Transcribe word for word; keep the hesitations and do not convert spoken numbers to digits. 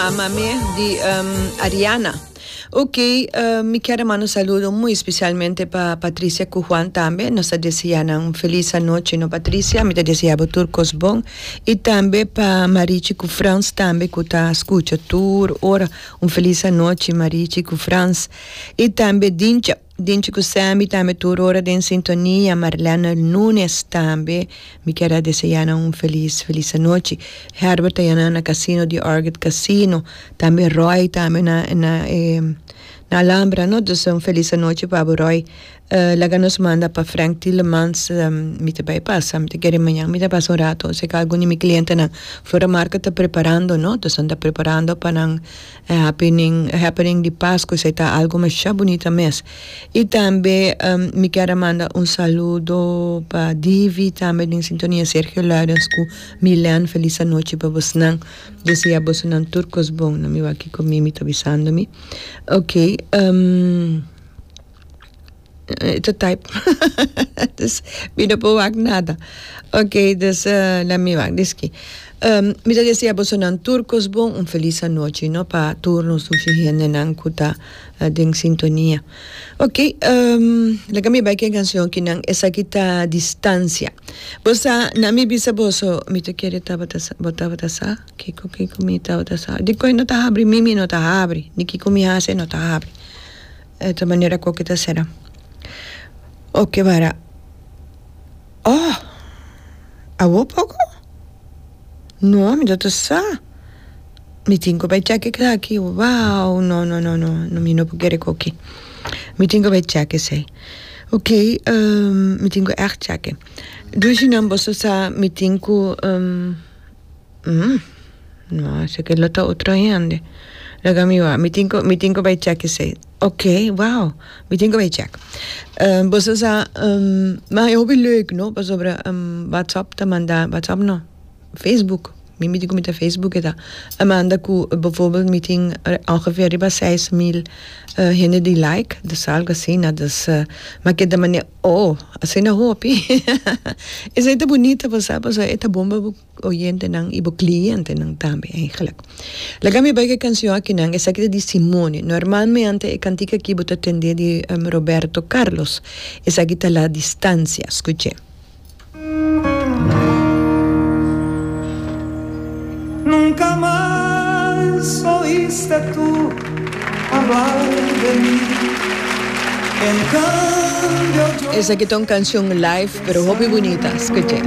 Amame di um, Ariana. Ok, uh, mi kier manda un saludo muy especialmente pa Patricia cu Juan tambe. Nos ta desea un feliz anochi, no, Patricia? Mi ta desea tur cos bon. Y tambe pa Marichi cu Frans tambe, cu ta scucha tur ora. Un feliz anochi, Marichi cu Frans. Y tambe Dincha, Dinchi cu Sammy tambe tur ora den sintonia. Marlene Nunes tambe. Mi kier desea un feliz, feliz anochi. Herbert ta na casino di Orchid Casino. Tambe Roy tambe na, na, eh, na Alhambra, no? Dus un feliz anochi pa Roy. Uh, laga nos manda pa Frank Tillemans, um, mi ta bay pasa, mi ta kere mañan, mi ta pasa un rato, si algun di mi clientenan Flora Marca ta preparando, no? Dus ta preparando pa nan eh, happening, happening di Pasco, esey ta algo mas bunita mes. Y tambe um, mi kier manda un saludo pa Divi, tambe den sintonia. Sergio Larens cu Milan, feliz anochi pa boso. Desea boso tur cos bon, no mi aki cu mi, mi ta avisando mi. Ok, um, ta type. Dus mi no por wak nada. Ok, dus uh, laat me wak, diski. Um, mi ta desea boso tur cos bon, un feliz anochi, no? Pa tur nos hendenan cu ta uh, den sintonia. Ok, um, laga mi bay cu e cancion akinan, esaki ta Distancia. Bo sa, na mi bisa boso, mi ta kere tabata bo tabata sa, kiko kiko mi tabata sa. Di ko no ta habri, mimi no ta habri, ni kiko mi hase no ta habri. E manera cu ta sera. Ok, para. Oh, awo poco? No, mi no sa. Mi tin cu bay check aki. Wow, no, no, no, no, no, mi no por kere aki. Mi tin cu bay check esey. Ok, um, mi tin cu echt check. Dus nan boso sa mi tin cu um, mm, no, esaki lo ta otro hende. Laga mi wa, mi tin cu mi tin cu bay check esey. Ok, wow. Mi tin cu bay check. Um, boso sa um, maar heel leuk, no? Pasobra um, WhatsApp ta manda, WhatsApp no. Facebook. Mi mi cu Facebook ta. A manda cu bijvoorbeeld mi tin ongeveer riba seis mil uh, hende di like, dus algo asina, dus uh, maar cu manera, oh, asina hopi. Esey ta bunita, bo sabi, e ta bon pa oyentenan y clientenan tambe eigenlijk. Laga mi bay cu e cancion akinan, esaki ta di Simone. Normalmente e cantica aki bo ta tende di um, Roberto Carlos. Esaki ta La Distancia. Scucha. Nunca más oíste tú hablar de mí. En cambio yo Esaki ta un cancion live, pero hopi bunita. Scucha.